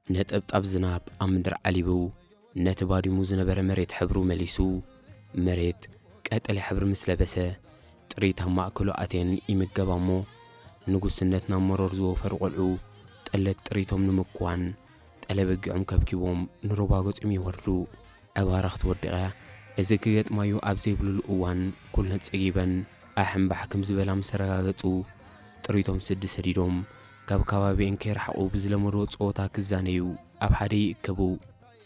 ነጠብጣብ ዝናብ ኣብ ምድሪ ዓሊቡ፣ ነቲ ባዲሙ ዝነበረ መሬት ሕብሩ መሊሱ፣ መሬት ቀጠልያ ሕብሪ ምስ ለበሰ፣ ጥሪት ኣብ ማእከሉ ኣትየን ይምገባ እሞ፣ ንጉስነት ናብ መሮር ዝወፈሩ ቆልዑ ጠለት ጥሪቶም ንምክዋን ጠለበጊዖም ከብኪቦም ንሩባ ገጾም ይወርዱ። ዕባራ ክትወድቕ እያ። እዚ ክገጥማዩ ኣብ ዘይብሉሉ እዋን፣ ኩለን ጸጊበን ኣሕምባሕ ከም ዝበላ ምስ ተረጋገጹ፣ ጥሪቶም ስዲ ሰዲዶም፣ ካብ ከባቢኤን ከይረሓቑ ብዝለመድዎ ጸወታ ክዛነዩ ኣብ ሓደ ይእከቡ።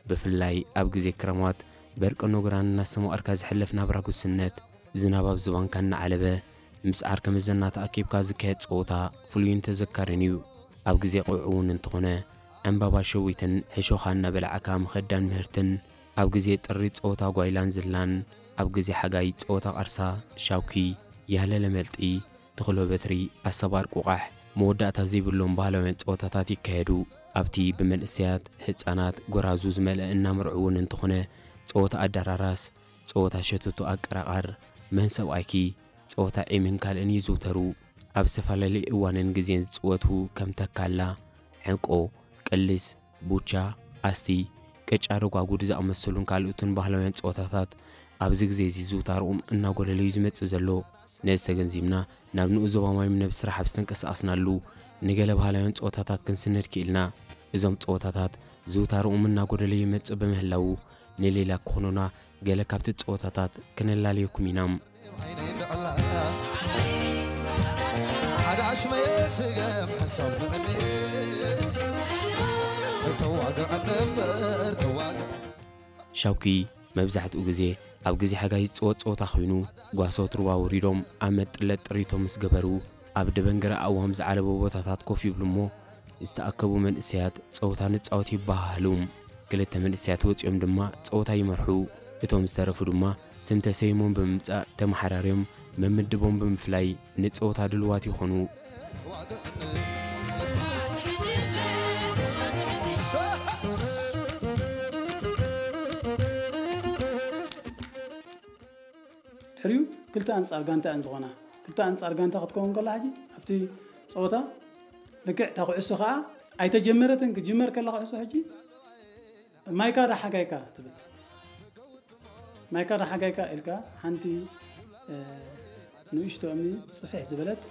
ብፍላይ ኣብ ግዜ ክረማት፣ በርቂ ኖግራን እናስተማቐርካ ዝሕለፍ ናብራ ጉስነት፣ ዝናብ ኣብ ዝባንካ እናዓለበ፣ ምስ ዓርከ መዘና ተኣኪብካ ዝካየድ ጸወታ ፍሉይን ተዘካርን እዩ። ኣብ ግዜ ቆውዒ እውን እንተኾነ፣ ዕምባባ ሸዊትን ሕሾኻ እናበላዕካ ምኸዳን ምህርትን፣ ኣብ ግዜ ጥሪ ጸወታ ጓይላን ዝላን፣ ኣብ ግዜ ሓጋይ ጸወታ ቃርሳ፣ ሻውኪ፣ ያለለ መልጢ፣ ተኽሎ በትሪ፣ ኣሰባር ቁቓሕ፣ መወዳእታ ዘይብሎም ባህላውያን ጸወታታት ይካየዱ። ኣብቲ ብመንእሰያት፣ ህጻናት፣ ጎራዙ ዝመልአ እናመርዑ እውን እንተኾነ፣ ጸወታ ኣዳራራስ፣ ጸወታ ሸቶቶ ኣቀራቓር፣ መን ሰብኣይኪ፣ ጸወታ ዒምን ካልእን ይዝውተሩ። ኣብ ዝተፈላለየ እዋንን ግዜን ዝጽወቱ ከም ተካላ፣ ዕንቆ፣ ቅልስ፣ ቡቻ፣ ኣስቲ፣ ቅጫ ረጓጉድ ዝኣመሰሉን ካልኦትን ባህላውያን ጸወታታት ኣብዚ ግዜ እዚ ዝውታርኦም እናጎደለ እዩ ዝመጽእ ዘሎ። ነዚ ተገንዚብና፣ ናብ ንኡስ ዞባ ማይም ነብ ስራሕ ኣብ ዝተንቀሳቐስናሉ፣ ንገለ ባህላውያን ጸወታታት ክንስነድ ክኢልና። እዞም ጸወታታት ዝውታርኦም እናጎደለ ይመጽእ ብምህላዉ፣ ንሌላ ክኾኑና ገለ ካብቲ ጸወታታት ክነላልየኩም ኢና። ሓደ ኣሽመየ ስገም ሓሳብ ዝቐኒ ተዋግዐኒ እምበር ተዋግዐ ሻውኪ መብዛሕትኡ ግዜ ኣብ ግዜ ሓጋይ ዝጽወት ጸወታ ኮይኑ፣ ጓሶት ሩባ ወሪዶም ኣብ መጥለጥ ጥሪቶም ምስ ገበሩ፣ ኣብ ደበንገረ ኣእዋም ዝዓለቦ ቦታታት ኮፍ ይብሉ እሞ፣ ዝተኣከቡ መንእሰያት ጸወታ ንጻወት ይበሃሃሉ። ክልተ መንእሰያት ወጺኦም ድማ ጸወታ ይመርሑ። እቶም ዝተረፉ ድማ ስም ተሰይሞም ብምምጻእ ተመሓራርዮም መምድቦም ብምፍላይ ንጸወታ ድልዋት ይኾኑ። ድሕሪኡ ክልተ ኣንጻር ጋንታ እየን ዝኾና። ክልተ ኣንጻር ጋንታ ክትከውን ከላ ሕጂ ኣብቲ ጸወታ ልክዕ እታ ኩዕሶ ኸኣ ኣይተጀመረትን፣ ክጅመር ከላ ኩዕሶ ሕጂ ማይካ ዳ ሓጋይካ ትብል። ማይካ ዳ ሓጋይካ ኢልካ ሓንቲ፣ እ፣ ንእሽቶ እምኒ ጽፍሕ ዝበለት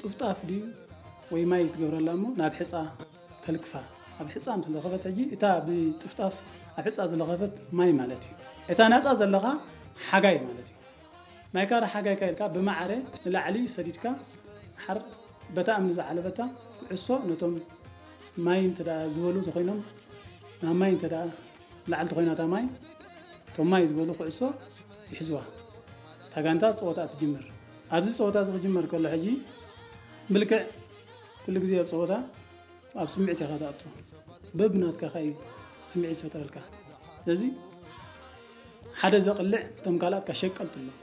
ጥፍጣፍ ድዩ ወይ ማይ ትገብረላ እሞ ናብ ሕጻ ተልክፋ። ኣብ ሕጻ ምስ ለኸፈት ሕጂ እታ ብጥፍጣፍ ኣብ ሕጻ ዝለኸፈት ማይ ማለት እዩ። እታ ናጻ ዘለኻ ሓጋይ ማለት እዩ። ማይካ ዳ ሓጋይካ ኢልካ ብማዕረ ንላዕሊ ሰዲድካ ሓር በታ እምኒ ዝዓለበታ ኩዕሶ ነቶም ማይ እንተ ደኣ ዝበሉ ተኾይኖም፣ ናብ ማይ እንተ ደኣ ላዕሊ ተኾይና እታ ማይ፣ እቶም ማይ ዝበሉ ኩዕሶ ይሕዝዋ። እታ ጋንታ ጸወታ ትጅምር። ኣብዚ ጸወታ እዚ ክጅመር ከሎ ሕጂ ብልክዕ ኩሉ ግዜ ኣብ ጸወታ ኣብ ስምዒት ኢኻ ትኣቱ። በብናትካ ኸኣ እዩ ስምዒት ዝፈጥረልካ። ስለዚ ሓደ ዘቕልዕ እቶም ካልኣት ከሸቀልቱ ኣለዉ።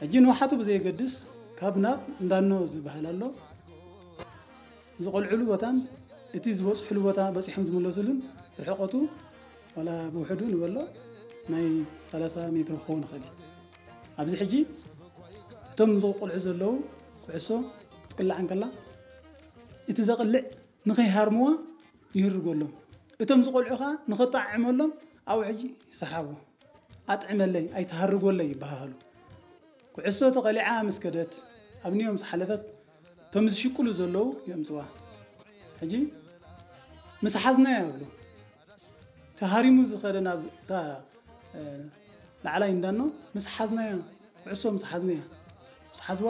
ሕጂ ንውሓቱ ብዘየገድስ ካብ ናብ እንዳኖ ዝበሃል ኣሎ። ዝቖልዕሉ ቦታን እቲ ዝበጽሕሉ ቦታ በጺሖም ዝምለሱሉን ርሕቐቱ ዋላ ብውሕዱ ንበሎ ናይ ሰላሳ ሜትሮ ክኸውን ይኽእል እዩ። ኣብዚ ሕጂ እቶም ዝቆልዑ ዘለዉ ኩዕሶ ክትቅላዕ እንከላ እቲ ዘቕልዕ ንኸይሃርምዋ ይህርጎሎም። እቶም ዝቆልዑ ኸኣ ንኸጣዕዕመሎም ኣብኡ ሕጂ ይሰሓቡ። "ኣጥዕመለይ፣ ኣይትሃርጎለይ" ይበሃሃሉ። ኩዕሶ ተቐሊዓ ምስ ከደት፣ ኣብንዮም ምስ ሓለፈት፣ እቶም ዝሽቅሉ ዘለዉ የምጽዋ። ሕጂ ምስ ሓዝናያ ይብሉ። ተሃሪሙ ዝኸደ ናብ እታ፣ እ፣ ላዕላይ እንዳኖ ምስ ሓዝናያ፣ ኩዕሶ ምስ ሓዝናያ፣ ምስ ሓዝዋ